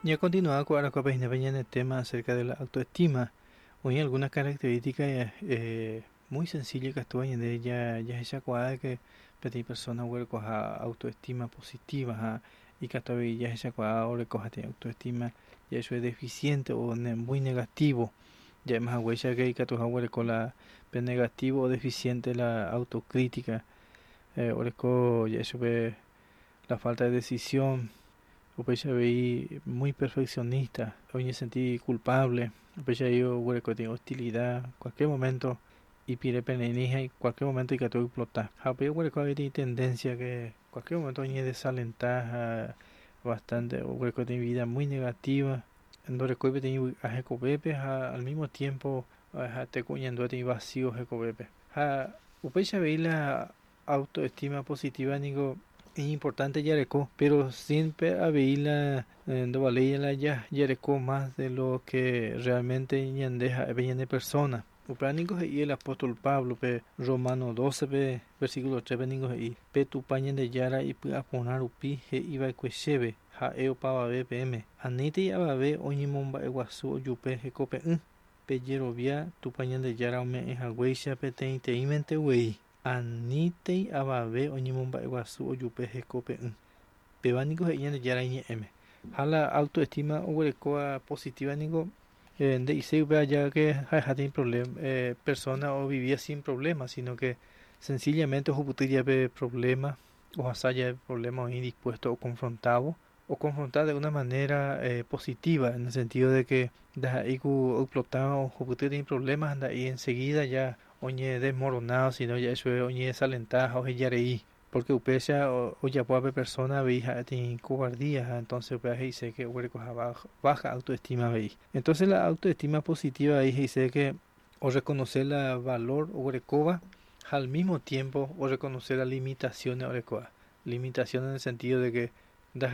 Ñakontinua ko arakuápe hína pe ñane tema acerca de la autoestima. Oĩ algunas características muy sencilla ikatúva ñande jahechakuaa que peteĩ persona oguerekoha autoestima positiva ha ikatu avei jahechakuaa orekoha peteĩ autoestima ja'e deficiente o muy negativo. Ja'éma haguéicha que ikatuha oguereko la pe negativo o deficiente la autocrítica, oreko ja'e chupe la falta de decisión, upéicha avei muy perfeccionista, oñesenti culpable, upéicha avei oguereko peteĩ hostilidad cualquier momento ipirepene'ỹ ha cualquier momento ikatu oexplota. Ha upéi oguereko avei peteĩ tendencia que cualquier momento oñedesalenta ha bastante oguereko peteĩ vida muy negativa, ndorekói peteĩ vy'a hekovépe ha al mismo tiempo ha'ete ku oñandúva peteĩ vacío hekovépe. Ha upéicha avei la autoestima positiva niko importante jareko, pero siempre avei la ndovaléi la jareko más de lo que realmente ñande ha'e pe ñane persona. Upéva niko he'i el apóstol Pablo pe Romano 12 pe versículo 3 pe niko he'i pe Tupã Ñandejára ipy'aporã rupi he'iva'ekue chéve ha'e opavave peẽme anítei avave oñemomba'eguasu ojupe hekope'ỹ pejerovia Tupã Ñandejára ome'ẽ haguéicha peteĩteĩmente guei anítei avave oñemomba'eguasu ojupe hekope'ỹ. Péva niko he'i Ñandejára iñe'ẽme. Ha la autoestima oguerekóva positiva niko nde'iséi upéva ya que ha'eha peteĩ problema persona ovivía sin problema, sino que sencillamente ohupyty jave problema ohasa jave problema oĩ dispuesto oconfrontávo, oconfronta de una manera positiva en el sentido de que ndaha'éi ku oexplotava ohupyty peteĩ problema ha nda'éi enseguida ya oñedesmoronado, sino ja'e chupe oñedesalenta ha ohejarei, porque upéicha ojapóva pe persona avei ha'e peteĩ cobardía ha entonces upéva he'ise que oguerekoha baja autoestima avei. Entonces la autoestima positiva avei he'ise que oreconoce la valor oguerekóva ha al mismo tiempo oreconoce la limitaciones orekóva. Limitaciones en el sentido de que